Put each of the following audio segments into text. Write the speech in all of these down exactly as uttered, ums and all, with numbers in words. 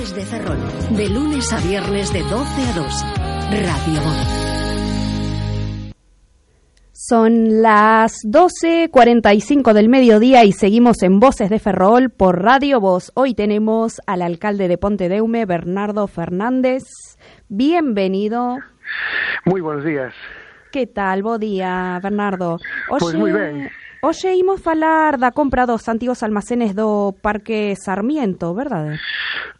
Voces de Ferrol, de lunes a viernes de doce a dos. Radio Voz. Son las doce cuarenta y cinco del mediodía y seguimos en Voces de Ferrol por Radio Voz. Hoy tenemos al alcalde de Pontedeume, Bernardo Fernández. Bienvenido. Muy buenos días. Que tal? Bo día, Bernardo. Oxe, pois moi ben. Hoxe imos falar da compra dos antigos almacenes do Parque Sarmiento, verdade?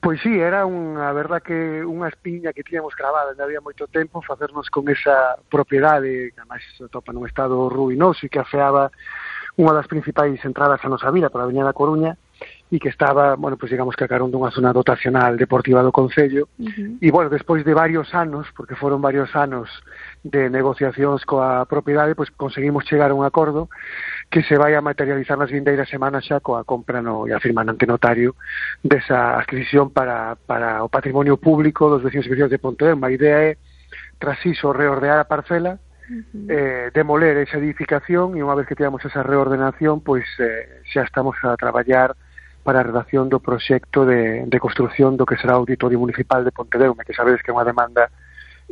Pois sí, era unha, a verdad que unha espiña que tíamos cravada, non había moito tempo facernos con esa propiedade, que además se topa nun estado ruinoso e que afeaba unha das principais entradas a nosa vila pola Avenida da Coruña e que estaba, bueno, pues digamos que a carón dunha zona dotacional deportiva do Concello. Uh-huh. E, bueno, despois de varios anos, porque foron varios anos de negociacións coa propiedade, pois conseguimos chegar a un acordo que se vai a materializar nas vindeiras semanas xa coa compra no, e a firma ante notario desa adquisición para, para o patrimonio público dos vecinos e vecinas de Pontedeume. A idea é, tras iso, reordear a parcela, uh-huh. eh, demoler esa edificación e unha vez que teamos esa reordenación, pois eh, xa estamos a traballar para a redacción do proxecto de, de construción do que será o Auditorio Municipal de Pontedeume, que sabedes que é unha demanda,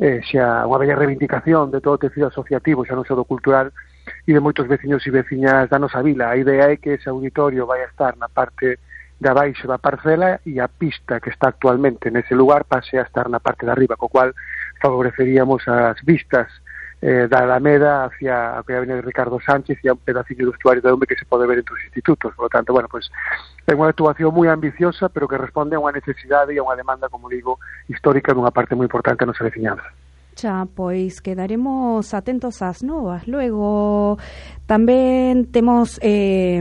eh, xa unha bella reivindicación de todo o tecido asociativo, xa non só do cultural, e de moitos veciños e veciñas da nosa vila. A idea é que ese auditorio vai a estar na parte de abaixo da parcela e a pista que está actualmente nese lugar pase a estar na parte de arriba, co cual favoreceríamos as vistas eh, da Alameda hacia a Avenida de Ricardo Sánchez e a un pedacillo do estuario de Eume que se pode ver entre os institutos. Por lo tanto, bueno, pues é unha actuación moi ambiciosa, pero que responde a unha necesidade e a unha demanda, como digo, histórica dunha parte moi importante da nosa veciñanza. Xa, pois quedaremos atentos ás novas. Luego tamén temos eh,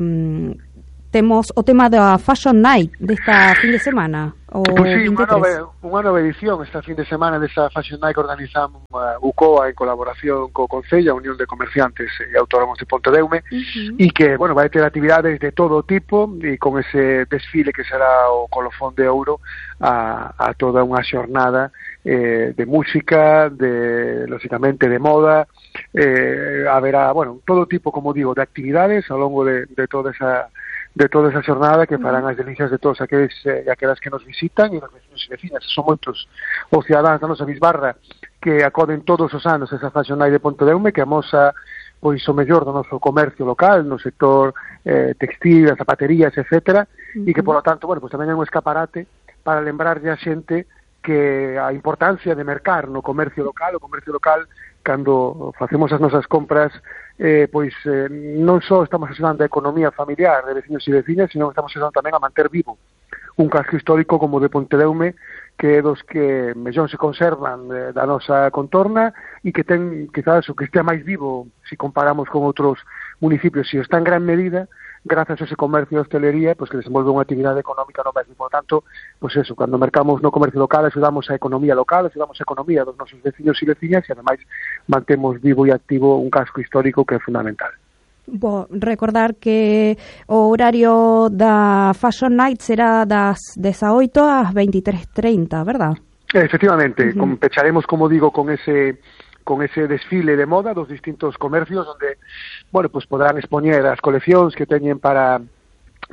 temos o tema da Fashion Night desta fin de semana. O pois sí, unha nova, unha nova edición esta fin de semana desa Fashion Night que organizamos a U C O A en colaboración co Concello, a Unión de Comerciantes e Autónomos de Pontedeume, uh-huh. e que, bueno, vai ter actividades de todo tipo e con ese desfile que será o colofón de ouro a, a toda unha xornada eh, de música, de, lógicamente, de moda, eh, haberá, bueno, todo tipo, como digo, de actividades ao longo de, de toda esa de toda esa xornada que farán as delicias de todos aqueles e eh, aquelas que nos visitan e os vecinos e vecinas. Son moitos os cidadáns da nosa bisbarra que acoden todos os anos a esa Fashion Night de Pontedeume, que amosa pois o mellor do noso comercio local no sector eh, textil, zapaterías, etcétera, uh-huh. e que, por lo tanto, bueno, pues tamén é un escaparate para lembrarlle a xente que a importancia de mercar no comercio local, o comercio local, cando facemos as nosas compras, eh, pois eh, non só estamos axudando a economía familiar de vecinos e vecinas, sino que estamos axudando tamén a manter vivo un casco histórico como de Pontedeume, que é dos que mellón se conservan eh, da nosa contorna e que ten, quizás, o que estea máis vivo se comparamos con outros municipios, e está en gran medida grazas a ese comercio de hostelería, pues que desenvolve unha actividade económica no mesmo. Por tanto, pues eso, cando mercamos no comercio local, axudamos a economía local, axudamos a economía dos nosos veciños e veciñas e, ademais, mantemos vivo e activo un casco histórico que é fundamental. Bo, recordar que o horario da Fashion Night será das dezaoito ás veintitrés trinta, verdad? Efectivamente, Uh-huh. pecharemos, como digo, con ese con ese desfile de moda dos distintos comercios onde, bueno, pues podrán expoñer as coleccións que teñen para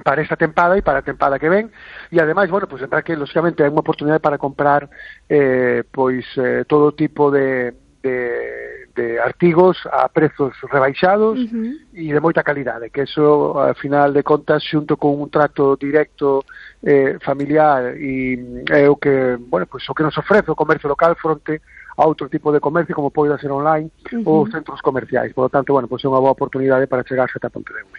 para esta tempada e para a tempada que ven, e ademais, bueno, pues lembrar que, lógicamente, hai unha oportunidade para comprar eh, pois eh, todo tipo de, de, de artigos a prezos rebaixados uh-huh. e de moita calidade, que eso, ao final de contas, xunto con un trato directo eh, familiar e é o que, bueno, pues o que nos ofrece o comercio local fronte a outro tipo de comercio, como pode ser online, uh-huh. ou centros comerciais. Por lo tanto, bueno, pues é unha boa oportunidade para chegarse ata Pontedeume.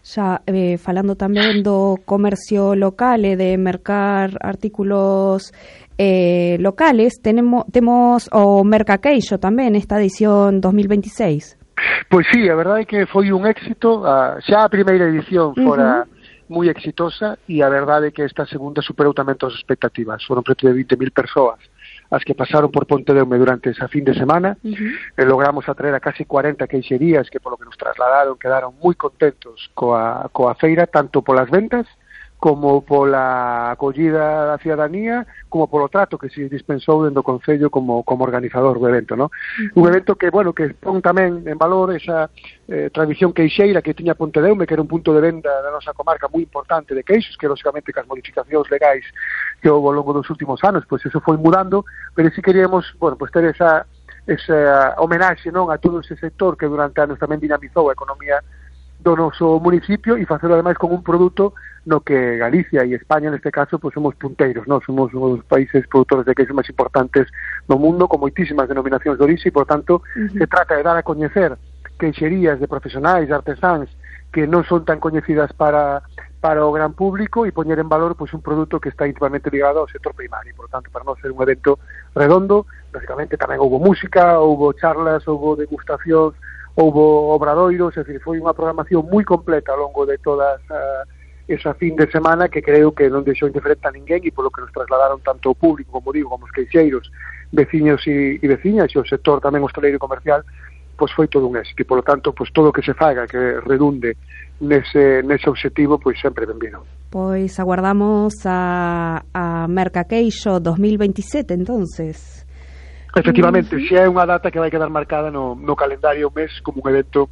Xa, eh, falando tamén do comercio local e de mercar artículos eh, locales, tenemos, temos o Mercaqueixo tamén, esta edición dos mil veintiséis. Pois sí, a verdade é que foi un éxito, a, xa a primeira edición fora uh-huh. moi exitosa, e a verdade é que esta segunda superou tamén todas as expectativas. Foron preto de vinte mil persoas as que pasaron por Pontedeume durante esa fin de semana. Uh-huh. E logramos atraer a casi cuarenta queixerías que, polo que nos trasladaron, quedaron moi contentos coa, coa feira, tanto polas ventas como pola acollida da cidadanía, como polo trato que se dispensou dentro do Concello como, como organizador do evento, ¿no? Uh-huh. Un evento que, bueno, que pon tamén en valor esa eh, tradición queixeira que tiña Pontedeume, que era un punto de venda da nosa comarca moi importante de queixos, que, lógicamente, que as modificacións legais que houve ao longo dos últimos anos, pois eso foi mudando, pero si queríamos, bueno, pois ter esa esa homenaxe, non, a todo ese sector que durante anos tamén dinamizou a economía do noso municipio e facelo ademais con un produto no que Galicia e España neste caso pois somos punteiros, non? Somos os países produtores de queixo máis importantes do mundo con moitísimas denominacións de orixe e por tanto uh-huh. se trata de dar a coñecer queixerías de profesionais, de artesáns que non son tan coñecidas para para o gran público e poñer en valor pois un produto que está íntimamente ligado ao sector primario. Por tanto, para nós ser un evento redondo, lógicamente tamén houve música, houve charlas, houve degustacións, houve obradoiros, é dicir, foi unha programación moi completa ao longo de todas uh, esa fin de semana que creo que non deixou indiferente a ninguén e polo que nos trasladaron tanto o público, como digo, como os queixeiros, veciños e, e veciñas e o sector tamén hosteleiro e comercial, pois foi todo un éxito e polo tanto, pois todo o que se faga que redunde nese, nese objetivo, pois sempre benvido. Pois aguardamos a, a Mercaqueixo dos mil veintisiete, entonces. Efectivamente, uh-huh. se é unha data que vai quedar marcada no, no calendario mes como un evento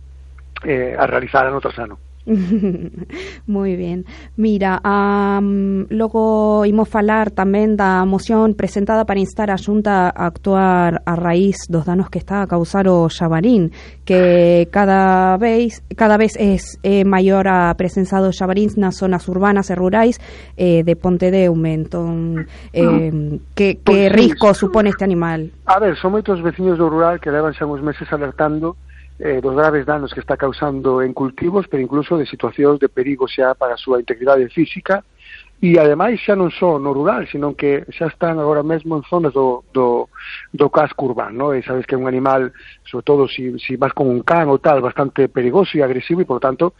eh, a realizar ano tras ano. Moi ben. Mira, um, logo imos falar tamén da moción presentada para instar a Xunta a actuar a raíz dos danos que está a causar o xabarín, que cada vez cada vez es eh, maior a presenza dos xabaríns nas zonas urbanas e rurais eh, de Pontedeume. Entón, eh, que, que risco supone este animal? A ver, son moitos veciños do rural que levan xa uns meses alertando Eh, dos graves danos que está causando en cultivos, pero incluso de situacións de perigo xa para a súa integridade física e ademais xa non só no rural, sino que xa están agora mesmo en zonas do, do, do casco urbano, e sabes que é un animal, sobre todo se si, si vas con un can ou tal, bastante perigoso e agresivo e por tanto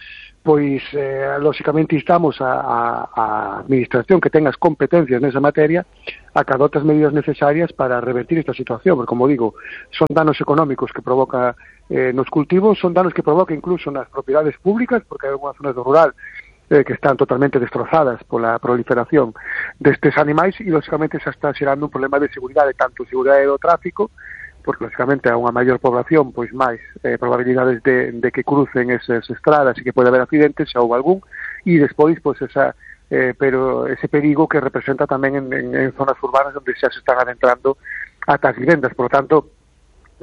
pois eh, lógicamente instamos a, a, a administración que tenga as competencias nesa materia a que adote as medidas necesarias para revertir esta situación, porque como digo, son danos económicos que provoca eh, nos cultivos, son danos que provoca incluso nas propiedades públicas, porque hai algunhas zonas do rural eh, que están totalmente destrozadas pola proliferación destes animais e lógicamente xa está xerando un problema de seguridade, tanto seguridade do tráfico, porque lógicamente a unha maior población pois máis eh, probabilidades de, de que crucen esas estradas e que pode haber accidentes, xa houve algún, e despois pois esa eh, pero ese perigo que representa tamén en, en, en zonas urbanas onde xa se están adentrando ata as vivendas. Por lo tanto,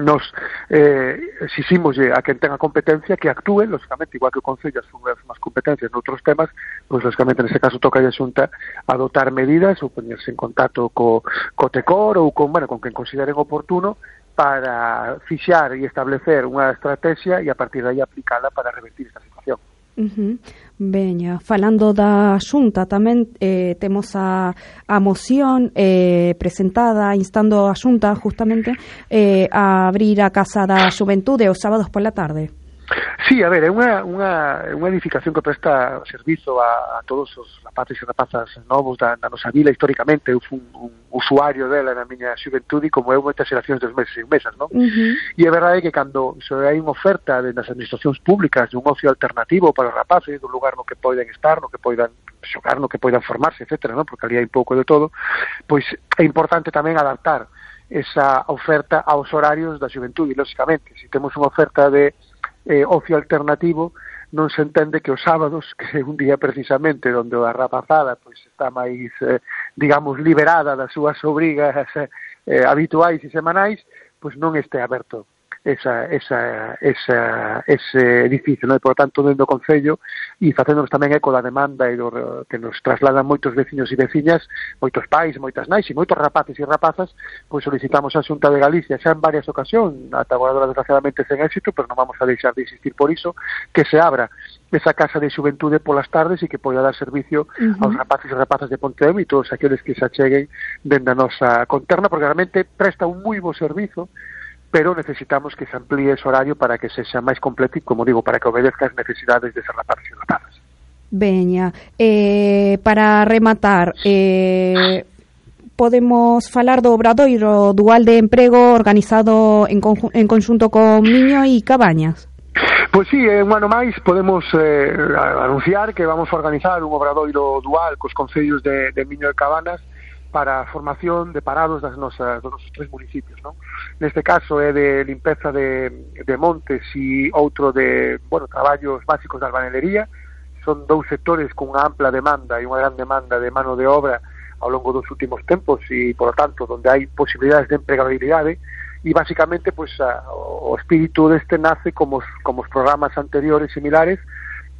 nos eh, exiximos a quen tenga competencia que actúe, lógicamente, igual que o Concello asume as competencias noutros temas, pois lógicamente nese caso toca a Xunta adoptar medidas ou poñerse en contacto co, co TECOR ou con, bueno, con quen consideren oportuno para fixar e establecer unha estrategia e a partir de aí aplicala para revertir esta situación. Uh-huh. Veña, falando da Xunta tamén eh, temos a, a moción eh, presentada instando a Xunta justamente eh, a abrir a Casa da Xuventude os sábados pola tarde. Sí, a ver, é unha, unha, unha edificación que presta servizo a, a todos os rapaces e rapazas novos da, da nosa vila históricamente. Eu fui un, un usuario dela na miña xuventude como eu moitas xeracións dos meses e mesas, non? Uh-huh. E é verdade que cando so, hai unha oferta de, das administracións públicas de un ocio alternativo para os rapaces, dun lugar no que poidan estar, no que poidan xogar, no que poidan formarse, etcétera, non? Porque ali hai un pouco de todo, pois é importante tamén adaptar esa oferta aos horarios da xuventude, lógicamente. Se temos unha oferta de eh, ocio alternativo, non se entende que os sábados, que é un día precisamente onde a rapazada pois está máis, eh, digamos, liberada das súas obrigas eh, habituais e semanais, pois non este aberto esa, esa, esa, ese edificio, non? E, por tanto, dentro do Concello e facéndonos tamén eco da demanda e do, que nos trasladan moitos veciños e veciñas, moitos pais, moitas nais e moitos rapaces e rapazas, pois solicitamos a Xunta de Galicia xa en varias ocasións, ata agora desgraciadamente sen éxito, pero non vamos a deixar de insistir por iso, que se abra esa casa de xuventude polas tardes e que poida dar servicio uh-huh. aos rapaces e rapazas de Pontedeume e todos aqueles que se acheguen dende a nosa conterna, porque realmente presta un moi bo servizo, pero necesitamos que se amplíe ese horario para que sexa máis completo e, como digo, para que obedezca as necesidades de ser rapaces e rapazas. Veña, eh, para rematar, eh, podemos falar do obradoiro dual de emprego organizado en, conju- en conxunto con Miño e Cabañas. Pois sí, un ano máis podemos eh, anunciar que vamos a organizar un obradoiro dual cos concellos de, de Miño e Cabanas para a formación de parados das nosas, dos nosos tres municipios, non? Neste caso é de limpeza de, de montes e outro de, bueno, traballos básicos de albanelería. Son dous sectores con unha ampla demanda e unha gran demanda de mano de obra ao longo dos últimos tempos e, por lo tanto, donde hai posibilidades de empregabilidade e, basicamente, pues, a, o espírito deste nace como os, como os programas anteriores similares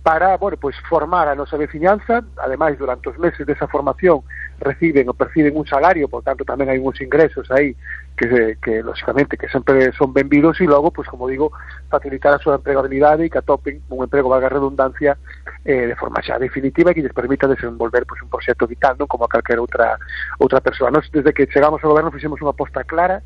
para, bueno, pues formar a nosa veciñanza. Ademais, durante os meses desa formación reciben ou perciben un salario, por tanto tamén hai uns ingresos aí que, que lógicamente, que sempre son benvidos e logo, pues como digo, facilitar a súa empregabilidade e que atopen un emprego, valga a redundancia, eh, de forma xa definitiva e que lles permita desenvolver, pues, un proxecto vital, non como a calquera outra outra persoa. Nos, desde que chegamos ao goberno, fixemos unha aposta clara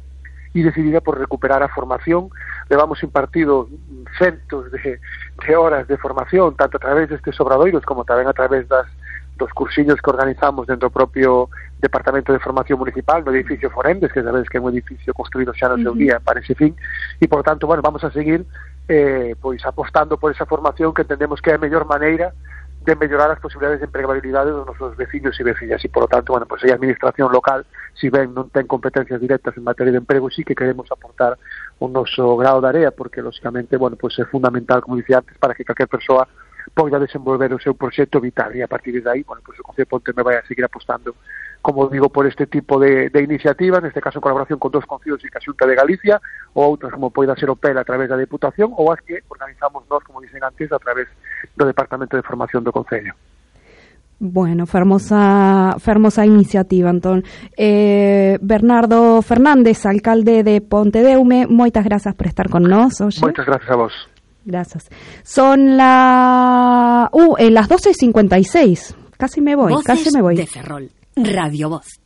e decidida por recuperar a formación. Levamos impartido centos de, de horas de formación, tanto a través destes obradoiros como tamén a través das, dos cursillos que organizamos dentro do propio Departamento de Formación Municipal, no edificio Forendes, que sabes que é un edificio construído xa no seu día para ese fin, e, por tanto, bueno, vamos a seguir eh, pois apostando por esa formación que entendemos que é a mellor maneira de mellorar as posibilidades de empregabilidade dos nosos veciños e veciñas e, por lo tanto, bueno, pues a administración local, si ben non ten competencias directas en materia de emprego, sí que queremos aportar o noso grao de area, porque, lógicamente, bueno, pues é fundamental, como dicía antes, para que calquer persoa poida desenvolver o seu proxecto vital e, a partir de aí, bueno, pues o Concello de Ponte me vai a seguir apostando, como digo, por este tipo de, de iniciativas, neste caso en colaboración con dos concellos e ca Xunta de Galicia, ou outras como poida ser o P E L a través da Deputación, ou as que organizamos nós, como dicen antes, a través do Departamento de Formación do Concello. Bueno, fermosa, fermosa iniciativa, entón. Eh, Bernardo Fernández, alcalde de Pontedeume, moitas grazas por estar con nós hoxe. Moitas grazas a vos. Gracias. Son la... Uh, eh, las doce y cincuenta y seis. Casi me voy, Voces casi me voy. de Ferrol. Radio Voz.